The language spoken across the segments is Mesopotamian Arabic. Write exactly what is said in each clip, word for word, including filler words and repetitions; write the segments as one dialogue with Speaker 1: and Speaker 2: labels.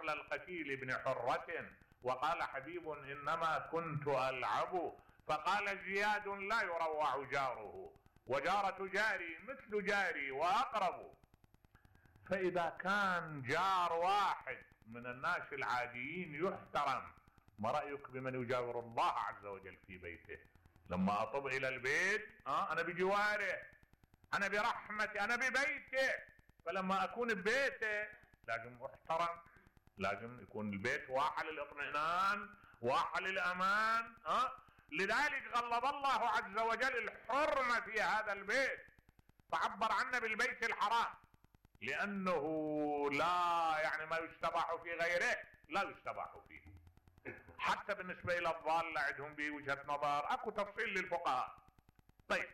Speaker 1: عقل القتيل بن حرة، وقال حبيب إنما كنت ألعب، فقال زياد لا يروع جاره، وجارة جاري مثل جاري وأقرب. فإذا كان جار واحد من الناس العاديين يحترم، ما رأيك بمن يجاور الله عز وجل في بيته؟ لما أطب إلى البيت آه أنا بجواره، أنا برحمتي، أنا ببيته، فلما أكون ببيته لازم أحترم، لازم يكون البيت واحة للإطمئنان، واحة للأمان. آه لذلك غلظ الله عز وجل الحرمة في هذا البيت، فعبر عنه بالبيت الحرام، لأنه لا يعني ما يستباح في غيره لا يستباح فيه. حتى بالنسبة إلى الضالة عندهم بوجهة نظر، أكو تفصيل للفقهاء. طيب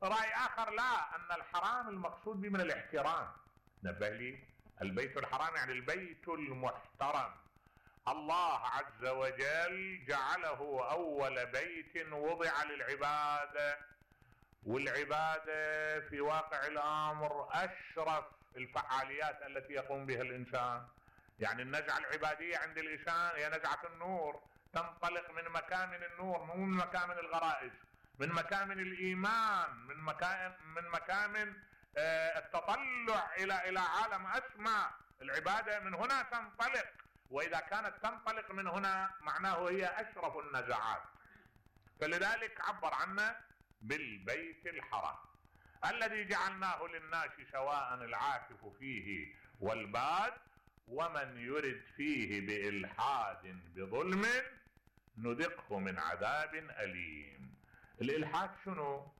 Speaker 1: رأي آخر لا، أن الحرام المقصود به من الاحترام. نبه لي، البيت الحرام يعني البيت المحترم. الله عز وجل جعله أول بيت وضع للعبادة، والعبادة في واقع الأمر أشرف الفعاليات التي يقوم بها الإنسان. يعني النزعة العبادية عند الإنسان هي نزعة النور، تنطلق من مكامن النور، مو من مكامن الغرائز، من مكامن الإيمان، من مكامن من مكامن آه التطلع إلى إلى عالم أسمى. العبادة من هنا تنطلق، وإذا كانت تنطلق من هنا معناه هي أشرف النزعات. فلذلك عبر عنه بالبيت الحرام الذي جعلناه للناس سواء العاكف فيه والباد، ومن يرد فيه بإلحاد بظلم نذقه من عذاب أليم. الإلحاد شنو؟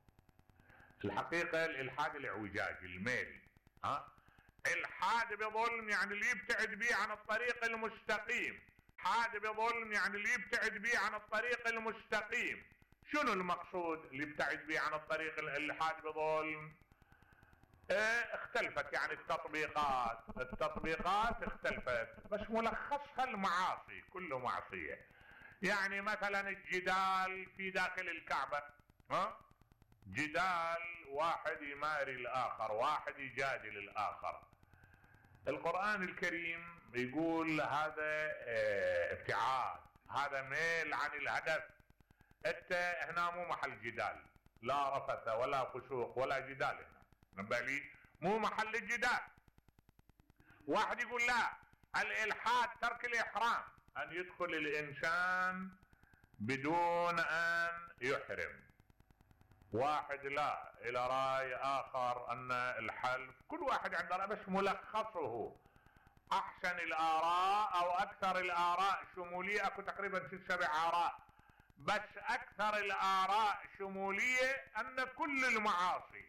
Speaker 1: الحقيقة الإلحاد الاعوجاج، الميل. ها؟ الحاد بظلم يعني اللي يبتعد به عن الطريق المستقيم، حاد بظلم يعني اللي يبتعد به عن الطريق المستقيم. شنو المقصود اللي يبتعد به عن الطريق الحاد بظلم؟ اه اختلفت يعني التطبيقات التطبيقات اختلفت، بس ملخصها المعاصي، كله معصية. يعني مثلا الجدال في داخل الكعبة، ها؟ جدال واحد يماري الآخر، واحد يجادل الآخر. القرآن الكريم يقول هذا اه ابتعاد، هذا ميل عن الهدف. انت هنا مو محل جدال، لا رفث ولا فسوق ولا جدال هنا، نبالي مو محل الجدال. واحد يقول لا، الإلحاد ترك الإحرام، أن يدخل الإنسان بدون أن يحرم. واحد لا إلى رأي آخر أن الحلف، كل واحد عنده رأي، بس ملخصه أحسن الآراء أو أكثر الآراء شمولية، أكو تقريبا ست سبع آراء، بس أكثر الآراء شمولية أن كل المعاصي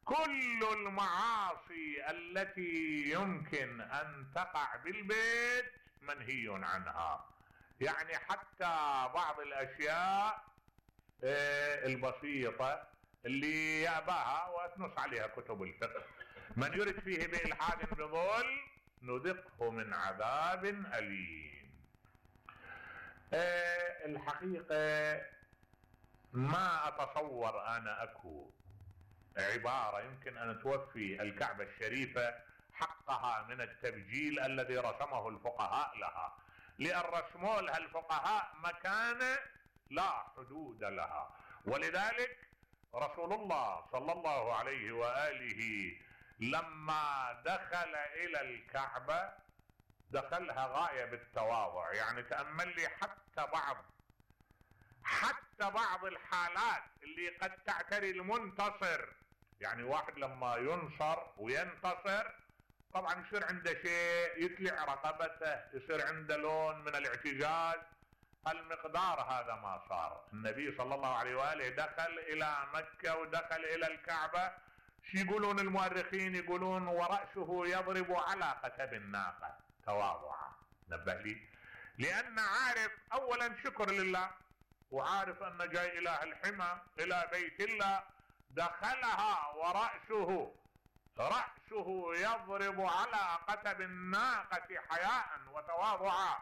Speaker 1: كل المعاصي التي يمكن أن تقع بالبيت منهي عنها. يعني حتى بعض الأشياء البسيطة اللي يأباها وتنص عليها كتب الفقه، من يرد فيه بإلحاد بظلم نذقه من عذاب أليم. أه الحقيقة ما أتصور أنا أكو عبارة يمكن أن توفي الكعبة الشريفة حقها من التبجيل الذي رسمه الفقهاء لها، لأن رسموا لها الفقهاء مكانة لا حدود لها. ولذلك رسول الله صلى الله عليه وآله لما دخل إلى الكعبة دخلها غاية بالتواضع. يعني تأمل لي حتى بعض حتى بعض الحالات اللي قد تعتري المنتصر، يعني واحد لما ينصر وينتصر طبعا يصير عنده شيء يتلع رقبته، يصير عنده لون من الاعتزاز. المقدار هذا ما صار. النبي صلى الله عليه وآله دخل إلى مكة ودخل إلى الكعبة، شو يقولون المؤرخين؟ يقولون ورأسه يضرب على قتب الناقة تواضعا. نبه لي، لأن عارف أولا شكر لله، وعارف أن جاي إله الحمى إلى بيت الله، دخلها ورأسه رأسه يضرب على قتب الناقة حياء وتواضعا،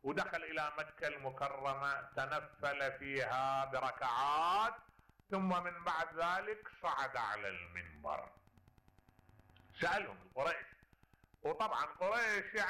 Speaker 1: ودخل إلى مكة المكرمة تنفل فيها بركعات، ثم من بعد ذلك صعد على المنبر. سألهم القريش، وطبعا قريش يعني